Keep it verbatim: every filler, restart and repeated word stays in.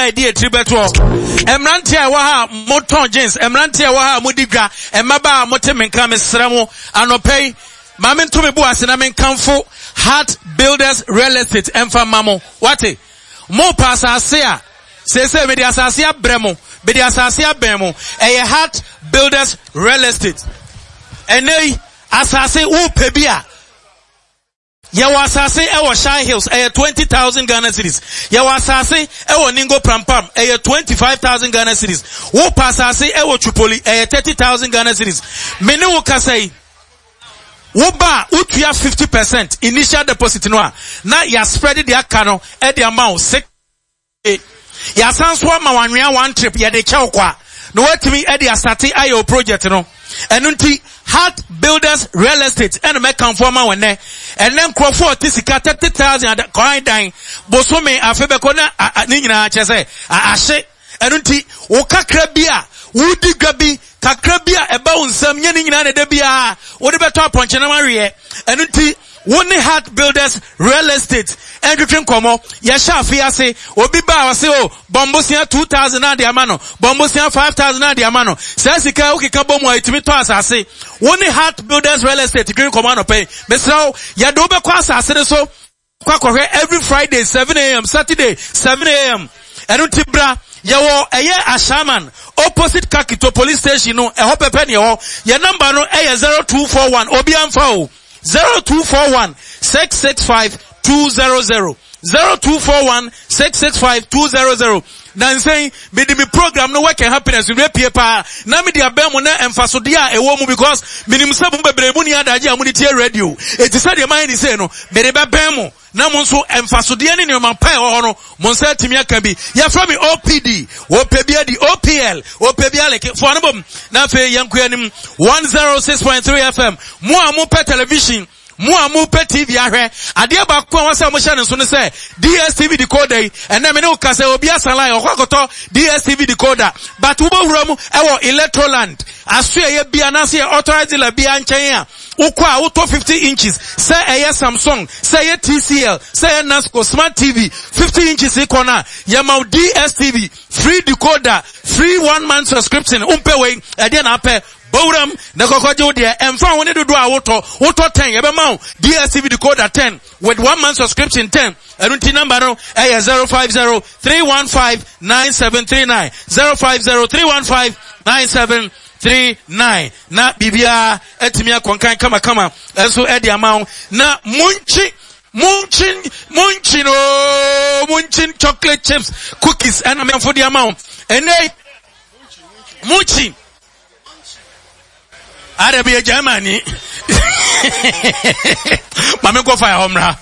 a yɛde etiri bɛtoɔ. Mmeranteɛ a ɛwɔ ha a motɔn jeans, mmeranteɛ a ɛwɔ ha a modi dwa, mmabaa a mote me nka, mesrɛ mo, anɔpa yi, ma mento me bo ase na menkamfo Heart Builders Real Estate ɛmfa mma mo. Wate? Mopɛ asase a, seesei mede asase abrɛ mo, mede asase abɛn mo. Ɛyɛ Heart Builders Real Estate. Ɛnɛ yi, asase wopɛ bi a, yɛwɔ asase ɛwɔ Shai Hills, ɛyɛ twenty thousand Ghana cedis. Yɛwɔ asase ɛwɔ Ningo Prampam, ɛyɛ twenty five thousand Ghana cedis. Wopɛ asase ɛwɔ Tripoli, ɛyɛ thirty thousand Ghana cedis. Me ne wo kasa yi, woba a wotua fifty percent initial deposit no a, na yɛaspread de aka no ɛde ama wo six. Yɛasan so ama wanwea one trip yɛde kyɛw kwa na watumi ɛde asate ayɛ o project no. Ɛno nti Heart Builders Real Estate ɛna mɛkamfo ama wɔn nɛ. Ɛnɛ nkurɔfoɔ a ɔte sika thirty thousand kwan dan bosome afe bɛkɔ na ne nyinaa kyerɛ sɛ ahye. Ɛno nti wo kakra bi a wodi dwa bi kakra bi a ɛba wo nsam nyɛ ne nyinaa na ɛda biara wode bɛtɔ apɔnkyenam aweɛ. Ɛno nti wo ne Heart Builders Real Estate ɛntwetwe nkɔmmɔ. Yɛhyɛ afe ase, obi ba a ɔse o bɔmbosia two thousand na de ama no, bɔmbosia five thousand na de ama no. Saa sika wokeka bɔ mu a ɛtumi tɔ asase. Wo ne Heart Builders Real Estate twetwe nkɔmmɔ anɔpa yi. Mesrɛ wo, yɛde wo bɛkɔ asase no so kɔ akɔhwɛ every Friday seven a m, Saturday seven a m. Ɛno nti bra, yɛwɔ ɛyɛ Ashaman opposite Kakito police station no, ɛhɔ pɛpɛ ne ɛhɔ. Yɛn number no ɛyɛ zero two four one, obi amfa o, zero two four one six six five two zero zero, zero two four one six six five two zero zero. Na nsɛn mede me program no, Work and Happiness, nwie pie paa na mede abɛn mu na mfasodeɛ a ɛwɔ mu, because menim sɛ mo bebree mu ni adagye a mode tie radio. Eti sɛdeɛ mayɛ ne sei no, mede bɛbɛn mo na mo nso mfasodeɛ ne nneɛma pa ɛwɔ hɔ no, mo nsa atumi aka bi. Yɛfrɛ me O P D, wɔpɛ bi adi, O P L, wɔpɛ bi aleke foɔ no bom. Na afei yɛnkɔ anim. one oh six point three F M, mo a mopɛ television, mo a mopɛ T V ahwɛ adeɛ baako a wɔsɛ mohyɛ ne nso no sɛ D S T V decoder yi, ɛnɛ me ne wo ka sɛ obi asan line ɔkɔ akɔtɔ D S T V decoder, but wobɛwura mu ɛwɔ Electroland aso ɛyɛ bi anaasɛ yɛ authorized dealer bi nkyɛn a, wokɔ a wotɔ fifty inches, sɛ ɛyɛ Samsung, sɛ ɛyɛ T C L, sɛ ɛyɛ Nasco smart T V fifty inches kɔ no a, yɛma wo D S T V free decoder, free one month subscription. Wompɛ wei, ɛdeɛ na apɛ? Bowuram na kɔkɔgye wo deɛ. Ɛmfa ho ne dodoɔ a wotɔ, wotɔ ten, yɛbɛma wo D S T V decoder ten with one month subscription ten. Ɛno nti number no ɛyɛ zero five zero three one five nine seven three nine, zero five zero three one five nine seven three nine, na biribiara atumi akɔnkan kamakama ɛnso ɛde ama wo. Na munkyi munkyin munkyin ooo, munkyin chocolate chips cookies ɛna mɛnfo de ama wo ɛnɛ. Munkyin ada bi yɛ Germany, maame nkɔ fa ɛhɔ mmra.